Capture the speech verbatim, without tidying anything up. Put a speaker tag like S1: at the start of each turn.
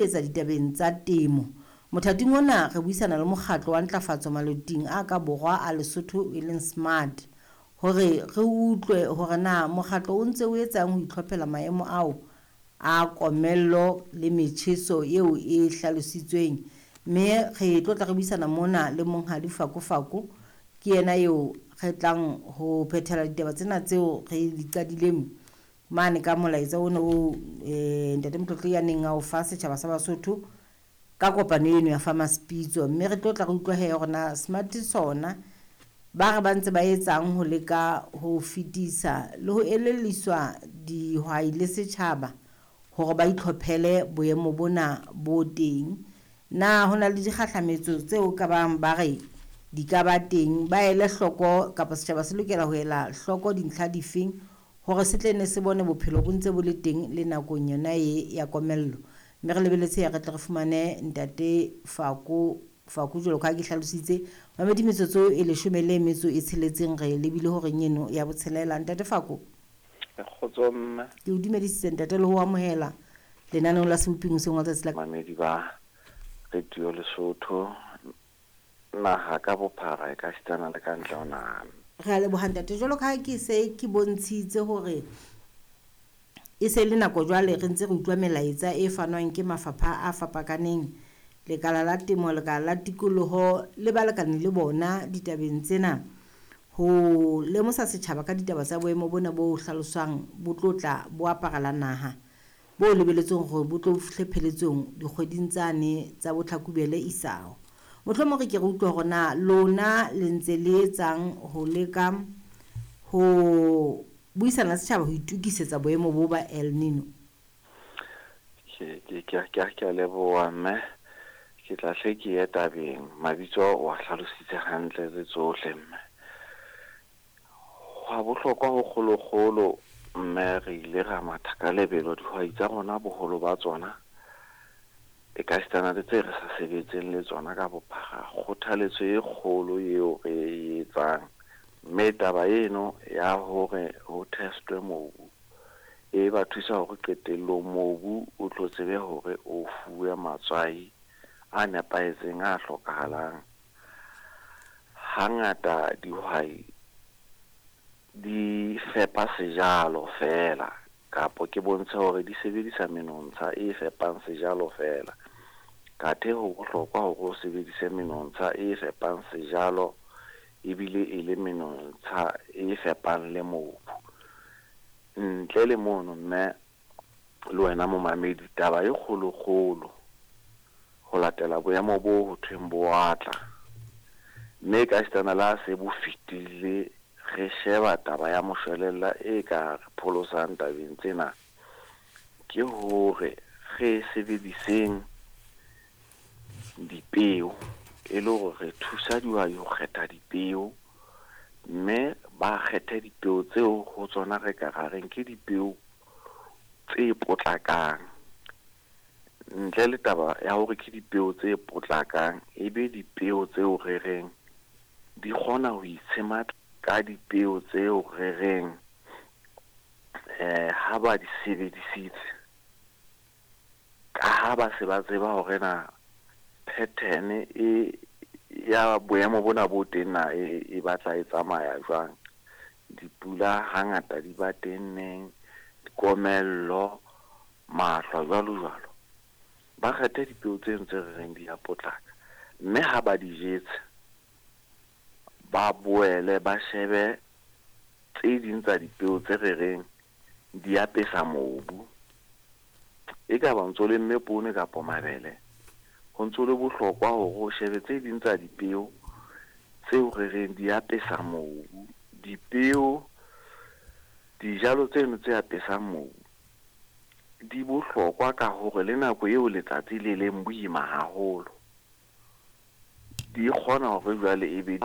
S1: Etsa ditabeng tsa temo. Mothating ona re buisana le mokgatlo wa ntlafatso maloting a ka borwa a Lesotho e leng SMART, hore re utlwe hore na mokgatlo o ntse o etsang ho itlhophela maemo ao a komello le metjheso eo e hlalositsweng. Mme re tlo tla re buisana mona le Monghadi Fako Fako, ke yena eo re tlang ho phethela ditaba tsena tseo re di qadileng mane ka molaetsa ona o eh, Ntate Motlotlo ya neng a o fa setjhaba sa Basotho ka kopano eno ya Farmers Pitso. Mme re tlo tla re utlwa hee hore na SMART sona ba re ba ntse ba etsang ho leka ho fetisa le ho elelliswa dihwai le setjhaba hore ba itlhophele boemo bona bo teng. Na ho na le dikgahlametso tseo ka bang ba re di ka ba teng, ba ele hloko kapa setjhaba se lokela ho ela hloko dintlha difeng hore se tle ne se bone bophelo bo ntse bo le teng le nakong yona e ya komello. Mme re lebeletse ya re tle re fumane Ntate Fako Fako jwalo ka ha ke hlalositse mamedi metsotso e leshome le metso e tsheletseng re lebile horeng eno ya botshelela. Ntate Fako,
S2: Kgotso mme.
S1: Ke o dumedisitse ntate le ho amohela lenaneong la Seboping hoseng wa tsatsi la
S2: Mamedi ba Radio Lesotho naha ka bophara e ka sitana le ka ntle ho naha.
S1: Re a leboha ntate. Jwalo ka ha ke se ke bontshitse hore e se le nako jwale re ntse re utlwa melaetsa e fanwang ke mafapha a fapakaneng, lekala la temo, lekala la tikoloho le balekane le bona ditabeng tsena, ho lemosa setjhaba ka ditaba tsa boemo bona bo hlaloswang bo tlo tla bo aparela naha, bo lebeletsweng hore bo tlo fihle pheletsong dikgweding tsane tsa bo Tlhakubele isao. Mohlomong re ke re utlwe hore na lona le ntse le etsang ho leka ho buisana le setjhaba ho itokisetsa boemo bo ba El Nino.
S2: Ke ke ke ke ke a leboha mme, ke tla hle ke ye tabeng. Mabitso o a hlalositse hantle le tsohle mme. Hwa bohlokwa ho kgolokgolo mme, re ile ra matha ka lebelo dihwai tsa rona boholo ba tsona e ka sitana le tse re sa sebetseng le tsona ka bophara. Kgothaletso e kgolo eo re e etsang mme taba eno ya hore ho testwe mobu e ba thusa hore qetellong mobu o tlo tsebe hore o fuwe matswai a nepahetseng a hlokahalang. Hangata dihwai di fepa sejalo feela, kapo ke bontshe hore di sebedisa menontsha e fepang sejalo feela. Kathe ho bohlokwa hore o sebedise menontsha e fepang sejalo ebile e le menontsha e fepang le mobu. Ntle le mono mme le wena momamedi, taba e kgolokgolo ho latela boemo bo ho thweng bo a tla, mme ka sitana le ha se bo fetile re sheba taba ya moshwelella e ka re pholosang tabeng tsena, ke hore re sebediseng dipeo e le hore re thusa dihwai ho kgetha dipeo, mme ba kgethe dipeo tseo ho tsona re ka ra reng ke dipeo tse potlakang. Ntle le taba ya hore ke dipeo tse potlakang, e be dipeo tseo re reng di kgona ho itshematla ka dipeo tseo re reng eh ha ba di sebedisitse, ka ha ba se ba tseba hore na pattern e ya boemo bona bo teng na e, e batla e tsamaya jwang. Dipula hangata di ba teng neng, dikomello, mahlwa jwalo jwalo. Ba kgethe dipeo tseno tse re reng di a potlaka, mme ha ba di jetse ba boele ba shebe tse ding tsa dipeo tse re reng di apesa mobu. E ka ba ntso lemme poone kapa mabele, ho ntso le bohlokwa hore o shebe tse ding tsa dipeo tseo re reng di apesa mobu. Dipeo, dijalo tseno tse apesang mobu di bohlokwa ka hore le nako eo letsatsi le leng boima haholo, di kgona hore jwale e be